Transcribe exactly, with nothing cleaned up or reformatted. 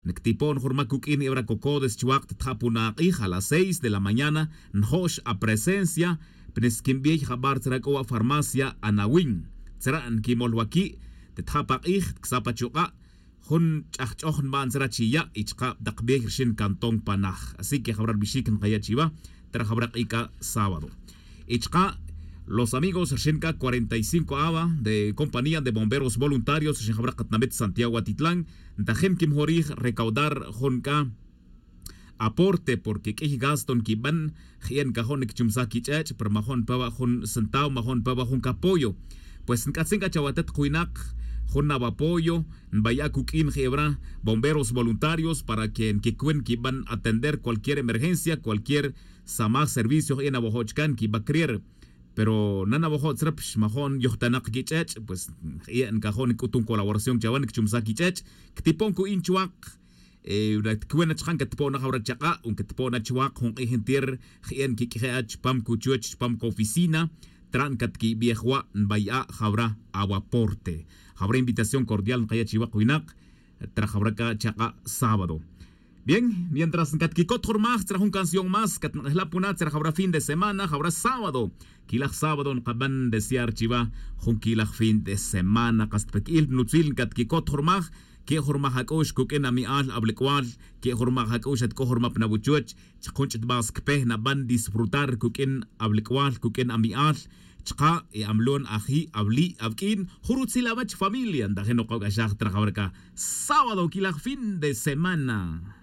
Nictipon jun rmac cuq'uin ebra cocodes chuak' titja' puna ak'ij a las seis de la mañana. Njo'x apresencia. Pnisquinbey jabar tzra c'o wa farmacia anawin tzra' nquimol waqui'. Titja' pa k'ij ticsa pa chuk'a'. Jun ch'ajch'oj nba'n tzra' chi ya' y chka' tak bey rxin cantón panaj. Así que jabra rbixic nkaya' chiwa tzra' jabra k'ic'a' sábado. Y chka' los amigos rxin c'a cuarenta y cinco awa de compañía de bomberos voluntarios rxin jabra katinamit santiago atitlan ntajin quimjorij recaudar jun c'a aporte porque q'uiy gasto nquiban. Je'e' ncajo' niquichumsaj quich'ech' pero majo' npa wa' jun centavo majo' npa wa' jun capoyo. Pues nc'atzin c'a chawatet kuwinak jun awapoyo nbaya' cuq'uin je'e wara bomberos voluntarios para que nquicuin quiban atender cualquier emergencia cualquier samaj servicio je'e' nawajo' chca nquiba crier. Pero nanawajo' tzra pix majo' nyojtanak quich'ech' pues je'e' ncajo' nic'utun colaboración chawa niquichumsaj quich'ech'. Quitipon cu'in chuak. Ticwena chaka' nquetpo'na jawra chak'a' o nquetpo'na chuak jun k'ij ntir je'e' nquiq'uije' chupam cuchuch chupam coficina. Tran catquibij wa' nbay'a' jawra awaporte. Jawra invitación cordial nkaya' chiwak winak. Tra jawra c'a chak'a' sábado. Bien, mientras ncatquicot jun rmaj tzra jun canción más catnk'ejla' puna tzra jawra fin de semana jawra sábado. Quilaj sábado nkaban desear chiwa jun quilaj fin de semana kas pa qui'il nutzil ncatquicot jun rmaj. Que' jun rmaj ac'u'x cuq'uin ami'al ablic'ual. Que' jun rmaj ac'u'x atc'o jun rmaj pa nawuchuch chkun ch'itbas cpe naban disfrutar cuq'uin ablic'ual cuq'uin ami'al. Chka' e amlon aji' abli' abq'uin jun rutzil awech familia ntajin nokoc'axaj trajawra c'a sábado quilaj fin de semana.